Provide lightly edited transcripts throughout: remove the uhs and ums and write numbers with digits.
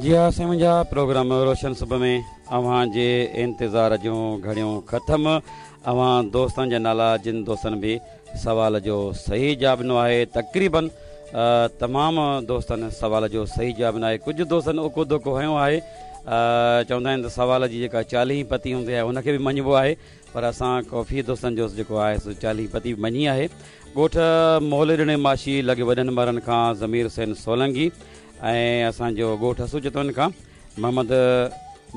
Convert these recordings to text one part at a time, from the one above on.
جي ها سائين منهنجا پروگرام روشن صبح ۾ اوهان جي انتظار جون گهڙيون ختم اوهان دوستن جا نالا جن دوستن به سوال جو صحيح جواب ڏنو آهي تقريبن تمام دوستن سوال جو صحيح جواب ڏنو آهي ڪجهه دوستن اڪو ڌڪو هنيو آهي چوندا آهن ته سوال جي جيڪا چاليهين پتي هوندي آهي ان کي به مڃبو آهي پر اسان ڪافي دوستن جو جيڪو آهي سو چاليهين پتي به مڃي آهي ڳوٺ موليڏني ماشي لڳ وڏن مرن کان ضمير حسين سولنگي ۽ اسان جو ڳوٺ حسو جتوئين کان محمد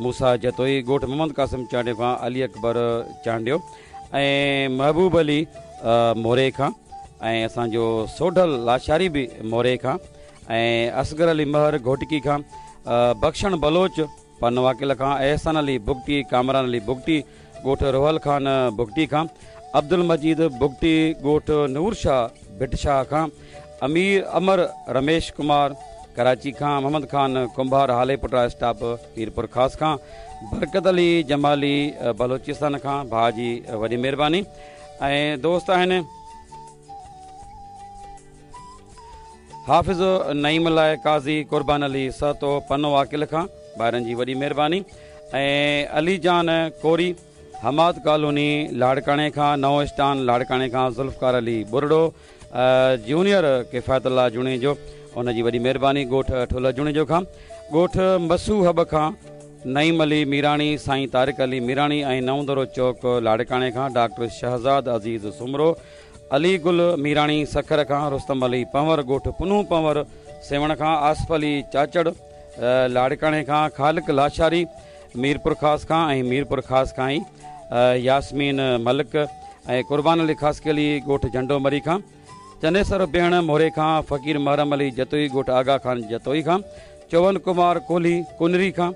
موسيٰ جتوئي، ڳوٺ محمد قاسم چانڊيو کان علي اڪبر چانڊيو ۽ محبوب علي موري کان ۽ اسان جو سوڍل لاشاري به موري کان ۽ اصغر علي مهر گهوٽڪي کان بخشڻ بلوچ پنوعاقل کان احسان علي بگٽي، ڪامران علي بگٽي ڳوٺ روحل خان بگٽي کان، عبدالمجيد بگٽي ڳوٺ نور شاهه ڀٽ شاهه کان، امير امر رميش ڪمار ڪراچي کان، محمد خان ڪنڀار هاليپوٽا اسٽاپ ميرپورخاص کان، برڪت علي جمالي بلوچستان کان، ڀاء جي وڏي مهرباني ۽ دوست آهن. حافظ نعيم الله قاضي قربان علي سهتو پنو عاقل کان ڀائرن جي وڏي مهرباني ۽ علي جان ڪوري حماد ڪالوني لاڙڪاڻي کان نئون اسٽان لاڙڪاڻي کان ذوالفقار علي ٻرڙو جونيئر ڪفايت الله جوڻيجو ان جي وڏي مهرباني ڳوٺ ٺلهه جوڻيجو کان ڳوٺ مسو حب کان نعيم علي ميراڻي سائين طارق علي ميراڻي ۽ نئون درو چوڪ لاڙڪاڻي کان ڊاڪٽر شهزاد عزيز سومرو علي گل ميراڻي سکر کان، رستم علي پنهور ڳوٺ پنهون پنهور سيوهڻ کان، آصف علي چاچڙ لاڙڪاڻي کان، خالق لاشاري ميرپورخاص کان ۽ ميرپورخاص کان ئي ياسمين ملڪ ۽ قربان علي خاصخيلي ڳوٺ جهنڊو مري کان، چنيسر بيهڻ موري کان، فقير محرم علي جتوئي ڳوٺ آغا خان جتوئي کان، چون ڪمار ڪولهي ڪنري کان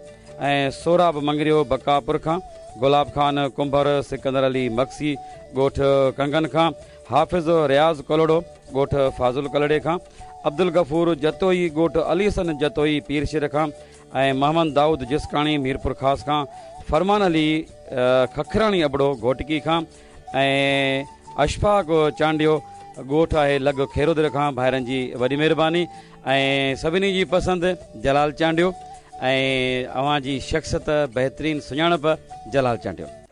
۽ سهراب مڱريو بقاپور کان، گلاب خان ڪنڀر، سڪندر علي مگسي ڳوٺ ڪنگن کان، حافظ رياض ڪلهوڙو ڳوٺ فاضل ڪلهوڙي کان، عبدالغفور جتوئي ڳوٺ علي حسن جتوئي پير شير کان ۽ محمد دائود جسڪاڻي ميرپورخاص کان، فرمان علي ککراڻي ابڙو گهوٽڪي کان ۽ اشفاق چانڊيو ڳوٺ آهي لڳ کيرودر کان ڀائرن جي وڏي مهرباني ۽ سڀني جي پسند جلال چانڊيو ۽ اوهان جي شخصيت بهترين سڃاڻپ جلال چانڊيو.